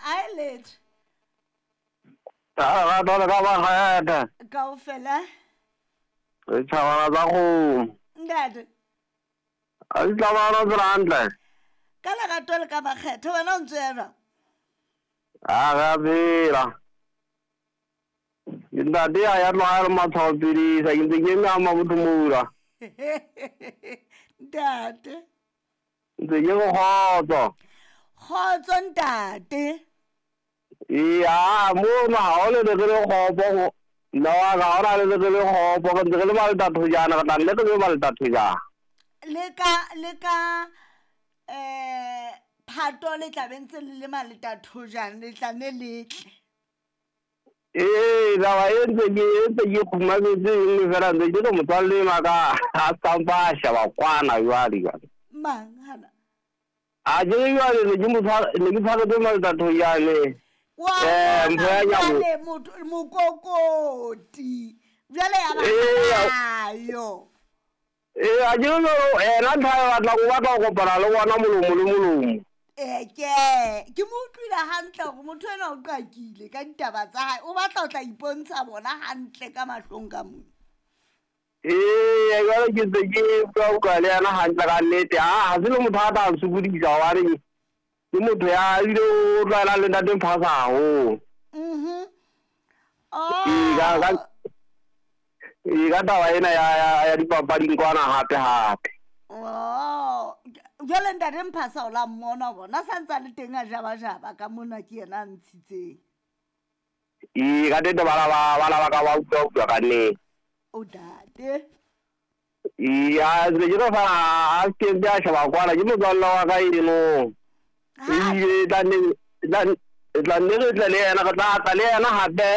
A e letho. Ka lerato le ka makgethe. Kaofela. Ditšhabana tsa kgomo. Ntate. A di tlabana tsela hantle. Ka lerato le ka makgethe wena o ntse ya jwang? A re a phela. Ke ntate ya ya tloga le matshwao pidisa ke ntse ke eme a mabotho moula. Ntate. Ntse ke re kgotso. Kgotso ntate. Ee, mono ga o le re le kgopo go nna wa ka ga ona le re le kgopo re ntse re le ba letathojana re tla nne re be ba letathojana. Le ka le ka phato le tla be ntse le le maletathojana le tla ne le tle. Ee, taba e ntse ke e ntse ke kgumametse e nngwe fela ntse ke re motswalle enwa ka a sampa a sheba kwana jwale jwale. Mang hana? A ke re jwale ne ke mo tshwara ne ke tshwaretse maletathojane. Wa Eh, bona mpho ya nyabo. jwale motho mokokoti jwale ya ba Ee, ayo. Ee, a ke re jwale ena ntho a e batlang o batla ho kopana le bona molomo le molomo. Ee, ke ke mo utlwile hantle hore motho enwa o qakile ka ditaba tsa hae o batla ho tla ipontsha bona hantle ka mahlong ka mona. Ee, jwale ke ntse ke bua bua le yena hantle ka nnete. Ha se le motho a tla nsokodisa hobane ke motho ya ebile o tlwaelang le ntate Mphasa haholo. Mhm. Ee, ka ka Oh. ee, ka taba ena ya ya ya dipapading kwana hape hape. Oh, jwale ntate Mphasa o la mmona bona sa ntse a le teng a jabajaba ka mona ke yena a ntshitseng. Ee, ka nnete bana ba bana ba ka ba utlwa utlwa ka nnete. O tate. Ee, a se ke re fela a se ke a sheba kwana ke motswalle wa ka eno. Ha Ebile tla nne tla tla nne re tle le yena re tla tla le yena hape.